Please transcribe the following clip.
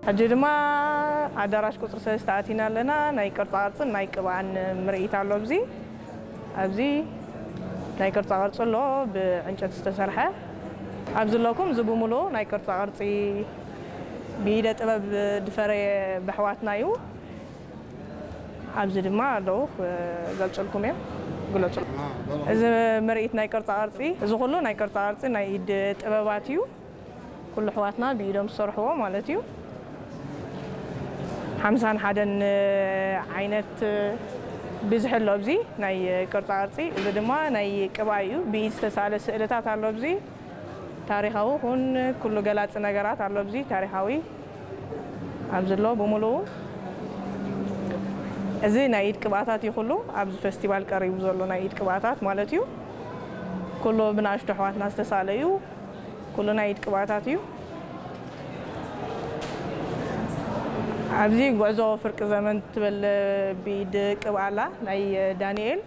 ሕጂ ድማ ኣዳራሽ ቁፅሪ ሰለስተ ኣቲና ኣለና። ናይ ቅርፃ ቅርፅን ናይ ቅብኣን ምርኢት ኣሎ። ኣብዚ ኣብዚ ናይ ቅርፃ ቅርፂ ኣሎ፣ ብዕንጨት ዝተሰርሐ። ኣብዚ ኣለኩም፣ እዚ ብምሉኡ ናይ ቅርፃ ቅርፂ ብኢደ ጥበብ ዝፈረየ ብሕዋትና እዩ። ኣብዚ ድማ ኣለዉ፣ ክገልፅልኩም እዮም። ግለፁ። እዚ ምርኢት ናይ ቅርፃ ቅርፂ፣ እዚ ኩሉ ናይ ቅርፃ ቅርፂ ናይ ኢድ ጥበባት እዩ። ኩሉ ኣሕዋትና ብኢዶም ዝሰርሕዎ ማለት እዩ። ሓምሳን ሓደን ዓይነት ብዝሒ ኣሎ ኣብዚ ናይ ቅርፃ ቅርፂ። እዚ ድማ ናይ ቅብኣ እዩ። ብኢድ ዝተሳለ ስእልታት ኣሎ ኣብዚ። ታሪኻዊ ኩን ኩሉ ገላፂ ነገራት ኣሎ ኣብዚ። ታሪኻዊ ኣብዚ ኣሎ ብምሉኡ። እዚ ናይ ኢድ ቅብኣታት እዩ። ኩሉ ኣብዚ ፌስቲቫል ቀሪቡ ዘሎ ናይ ኢድ ቅብኣታት ማለት እዩ። ኩሉ ብንኣሽቱ ኣሕዋትና ዝተሳለ እዩ። ኩሉ ናይ ኢድ ቅብኣታት እዩ። ኣብዚ ጉዕዞ ፍርቂ ዘመን ትብል ብኢድ ቅብኣ ኣላ፣ ናይ ዳንኤል።